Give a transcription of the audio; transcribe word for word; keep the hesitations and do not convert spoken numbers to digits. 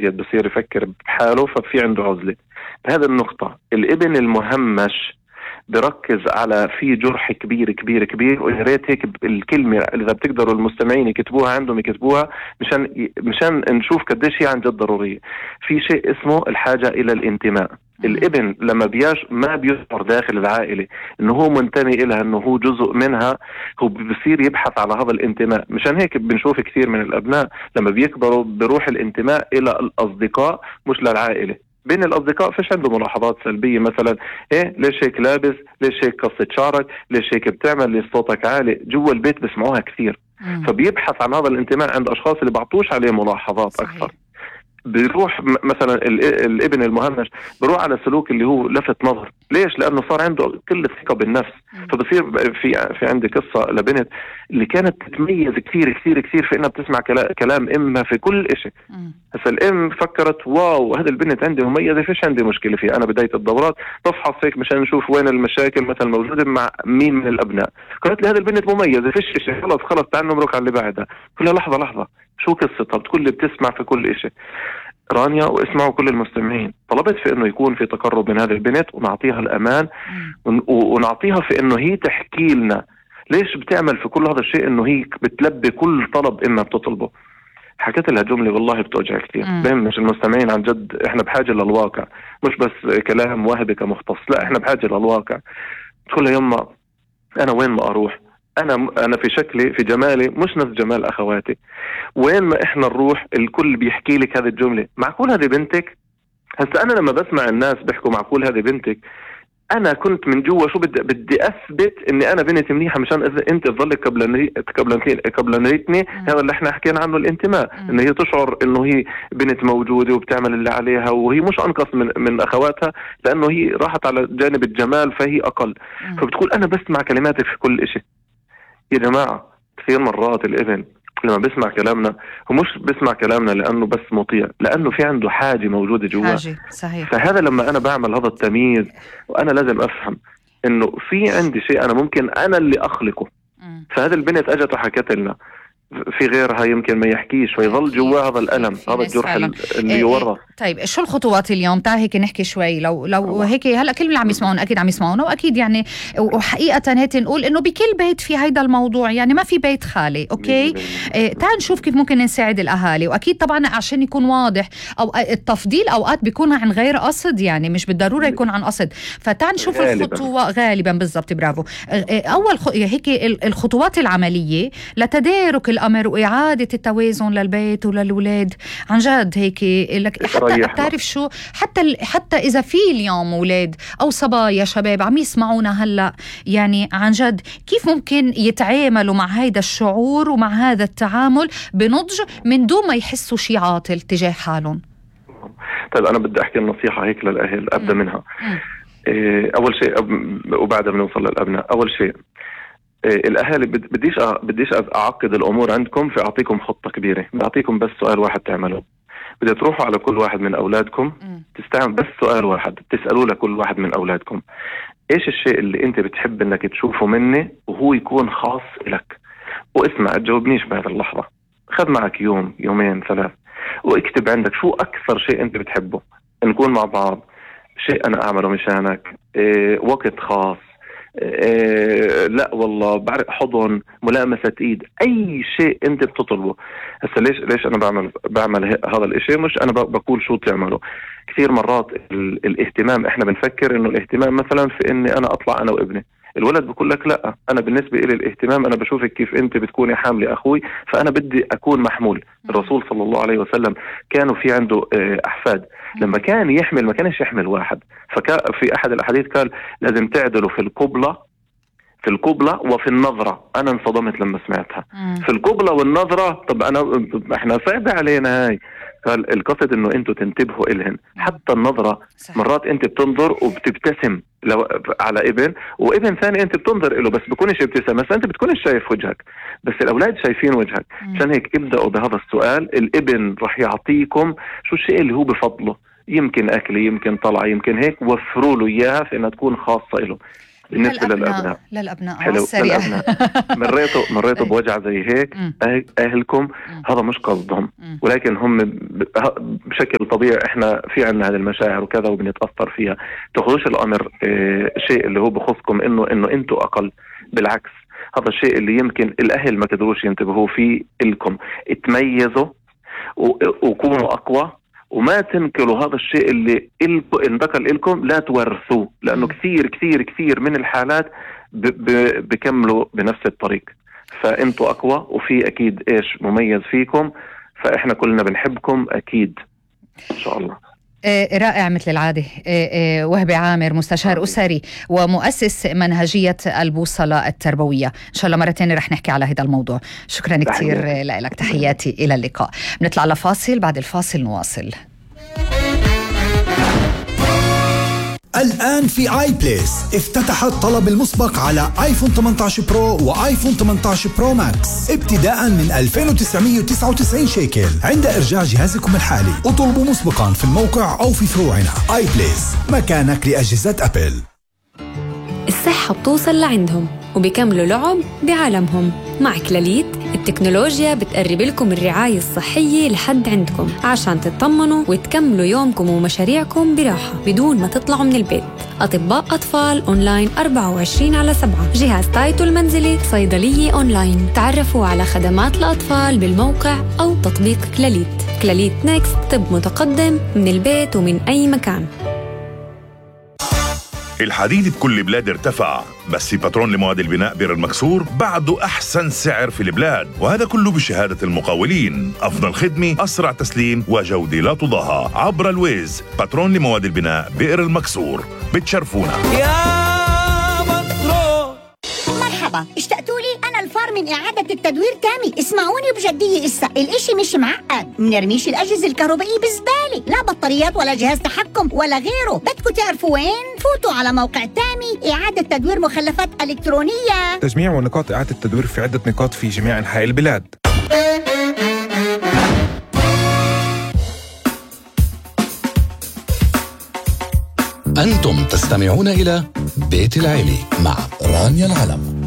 بصير يفكر بحاله، ففي عنده عزلة. بهذا النقطة الابن المهمش بركز على في جرح كبير كبير كبير، ويا ريت هيك الكلمة إذا بتقدروا المستمعين يكتبوها عندهم يكتبوها مشان مشان نشوف قديش هي عن جد ضرورية. في شيء اسمه الحاجة إلى الانتماء. الابن لما بياش ما بيشعر داخل العائلة انه هو منتمي إلها، انه هو جزء منها، هو بيصير يبحث على هذا الانتماء. مشان هيك بنشوف كثير من الابناء لما بيكبروا بروح الانتماء الى الاصدقاء مش للعائلة. بين الأصدقاء فيش عنده ملاحظات سلبية، مثلا إيه ليش هيك لابس، ليش هيك قصة شعرك، ليش هيك بتعمل، ليش صوتك عالي. جوا البيت بسمعوها كثير. مم. فبيبحث عن هذا الانتماء عند أشخاص اللي بعطوش عليه ملاحظات. صحيح. أكثر. بيروح مثلا الابن المهمش بيروح على سلوك اللي هو لفت نظر. ليش؟ لأنه صار عنده كل ثقة بالنفس. مم. فبصير في في عندي قصة لبنت اللي كانت تتميز كثير كثير كثير في إنها بتسمع كلام إمها في كل إشي. هسا الام فكرت واو هذا البنت عندي مميزه، فيش عندي مشكله فيها. انا بدايه الدورات بفحص هيك مشان نشوف وين المشاكل مثلا موجوده مع مين من الابناء. قالت لي هذا البنت مميزه، فيش شيء، خلص خلص تعال نمرق على اللي بعدها. قلت لها لحظه لحظه شو قصتها؟ بتقول لي بتسمع في كل شيء. رانيا واسمعوا كل المستمعين، طلبت في انه يكون في تقرب من هذه البنت ونعطيها الامان ونعطيها في انه هي تحكي لنا ليش بتعمل في كل هذا الشيء، انه هي بتلبي كل طلب اما بتطلبه. حكيت لها جملة والله بتوجع كثير. بهم مش المستمعين عن جد احنا بحاجة للواقع، مش بس كلام وهبي كمختص، لا احنا بحاجة للواقع. تقول لها يما انا وين ما اروح، انا انا في شكلي في جمالي مش نفس جمال اخواتي، وين ما احنا نروح الكل بيحكي لك هذه الجملة. معقول هذه بنتك؟ هسا انا لما بسمع الناس بيحكوا معقول هذه بنتك، انا كنت من جوا شو بدي بدي اثبت اني انا بنتي منيحه مشان اذا انت تظلك قبل قبل قبل نيتني. هذا اللي احنا حكينا عنه الانتماء، انه هي تشعر انه هي بنت موجوده وبتعمل اللي عليها، وهي مش انقص من من اخواتها لانه هي راحت على جانب الجمال فهي اقل. فبتقول انا بسمع كلماتك في كل إشي. يا جماعه كثير مرات الابن لما بسمع كلامنا هو مش بسمع كلامنا لأنه بس مطيع، لأنه في عنده حاجة موجودة جوا. صحيح. فهذا لما أنا بعمل هذا التمييز وأنا لازم أفهم إنه في عندي شيء أنا ممكن أنا اللي أخلقه. م. فهذا البنت أجت وحكت لنا، في غيرها يمكن ما يحكيش فيظل جوا هذا الألم، هذا الجرح اللي يورث. طيب شو الخطوات اليوم؟ تعال هيك نحكي شوي. لو لو هيك هلا كل اللي عم يسمعون اكيد عم يسمعونا، واكيد يعني وحقيقه هيك نقول انه بكل بيت في هيدا الموضوع، يعني ما في بيت خالي. اوكي إيه تعال نشوف كيف ممكن نساعد الاهالي. واكيد طبعا عشان يكون واضح او التفضيل اوقات بيكون عن غير قصد، يعني مش بالضروره يكون عن قصد. فتعال نشوف الخطوه غالبا بالضبط. برافو. اول خ... هيك الخطوات العمليه لتدارك الامر واعاده التوازن للبيت وللولاد. عن جد هيك لك حتى بتعرف شو، حتى حتى إذا في اليوم أولاد أو صبايا شباب عم يسمعونا هلأ، يعني عن جد كيف ممكن يتعاملوا مع هيدا الشعور ومع هذا التعامل بنضج من دون ما يحسوا شي عاطل تجاه حالهم؟ طيب أنا بدي أحكي النصيحة هيك للأهل أبدأ م. منها. إيه أول شيء وبعدها بنوصل للأبناء. أول شيء إيه الأهالي بديش بديش أعقد الأمور عندكم في أعطيكم خطة كبيرة، بعطيكم بس سؤال واحد تعملوه. بدأ تروحوا على كل واحد من أولادكم تستعمل بس سؤال واحد، تسألوا لكل واحد من أولادكم إيش الشيء اللي أنت بتحب أنك تشوفه مني وهو يكون خاص لك. واسمع تجاوبنيش بهذه اللحظة، خذ معك يوم يومين ثلاث واكتب عندك شو أكثر شيء أنت بتحبه، نكون مع بعض، شيء أنا أعمله مشانك، إيه وقت خاص، إيه لا والله بعرف حضن، ملامسة ايد، اي شيء انت بتطلبه. هسه ليش ليش انا بعمل بعمل هذا الاشي؟ مش انا بقول شو تعمله. كثير مرات ال... الاهتمام احنا بنفكر انه الاهتمام مثلا في اني انا اطلع انا وابني. الولد بقول لك لا، انا بالنسبه لي الاهتمام انا بشوفك كيف انت بتكوني حامله اخوي، فانا بدي اكون محمول. الرسول صلى الله عليه وسلم كانوا في عنده احفاد، لما كان يحمل ما كانش يحمل واحد، ففي احد الاحاديث قال لازم تعدلوا في القبلة في القبلة وفي النظرة. أنا انصدمت لما سمعتها. مم. في القبلة والنظرة، طب أنا إحنا صعب علينا هاي. قال القصد إنه أنتوا تنتبهوا إلهن. حتى النظرة صحيح. مرات أنت بتنظر وبتبتسم لو على ابن، وابن ثاني أنت بتنظر إله بس بكونش ابتسام، بس أنت بتكونش شايف وجهك، بس الأولاد شايفين وجهك. عشان هيك ابدأوا بهذا السؤال. الابن رح يعطيكم شو الشيء اللي هو بفضله، يمكن أكل، يمكن طلعة، يمكن هيك، وفروا له إياها في أنها تكون خاصة له. بالنسبة للأبناء للأبناء حلو للأبناء مريتوا مريتوا بوجع زي هيك أهلكم، هذا مش قصدهم، ولكن هم بشكل طبيعي إحنا في عنا هذه المشاعر وكذا وبنتأثر فيها. تاخذوش الأمر اه شيء اللي هو بخصكم إنه إنه أنتوا أقل، بالعكس هذا الشيء اللي يمكن الأهل ما قدروش ينتبهوا فيه إلكم. اتميزوا وكونوا أقوى، وما تنكلوا هذا الشيء اللي انتقل إلكم، لا تورثوه، لأنه كثير كثير كثير من الحالات بكملوا بنفس الطريق. فأنتوا أقوى، وفي أكيد إيش مميز فيكم، فإحنا كلنا بنحبكم أكيد إن شاء الله. رائع مثل العادة. وهبي عامر، مستشار أسري ومؤسس منهجية البوصلة التربوية. إن شاء الله مرة تانية رح نحكي على هذا الموضوع. شكرا كتير لك، تحياتي، إلى اللقاء. بنطلع لفاصل، بعد الفاصل نواصل. الآن في آي بليس افتتح الطلب المسبق على آيفون ثمانية عشر برو وآيفون ثمانية عشر برو ماكس ابتداء من ألفين وتسعمية وتسعة وتسعين شيكل عند إرجاع جهازكم الحالي. اطلبوا مسبقا في الموقع أو في فروعنا. آي بليس، مكانك لأجهزة أبل. الصحة بتوصل لعندهم وبيكملوا لعب بعالمهم. مع كلاليت التكنولوجيا بتقرب لكم الرعاية الصحية لحد عندكم عشان تطمنوا وتكملوا يومكم ومشاريعكم براحة بدون ما تطلعوا من البيت. أطباء أطفال أونلاين أربعة وعشرين على سبعة، جهاز تايتو المنزلي، صيدلية أونلاين. تعرفوا على خدمات الأطفال بالموقع أو تطبيق كلاليت. كلاليت نيكست، طب متقدم من البيت ومن أي مكان. الحديد بكل بلاد ارتفع، بس في باترون لمواد البناء بئر المكسور بعده أحسن سعر في البلاد، وهذا كله بشهادة المقاولين. أفضل خدمة، أسرع تسليم، وجودة لا تضاهى. عبر الويز، باترون لمواد البناء بئر المكسور. بتشرفونا يا مصر. مرحبا، اشتقتوا لي؟ أنا الفار من إعادة التدوير تامي. اسمعوني بجدية، إسا الإشي مش معقد. منرميش الأجهزة الكهربائية بزبالة، لا بطاريات ولا جهاز تحكم ولا غيره. بدكم تعرفوا وين؟ فوتوا على موقع تامي إعادة تدوير مخلفات إلكترونية. تجميع ونقاط إعادة التدوير في عدة نقاط في جميع أنحاء البلاد. أنتم تستمعون إلى بيت العيلة مع رانيا العلم.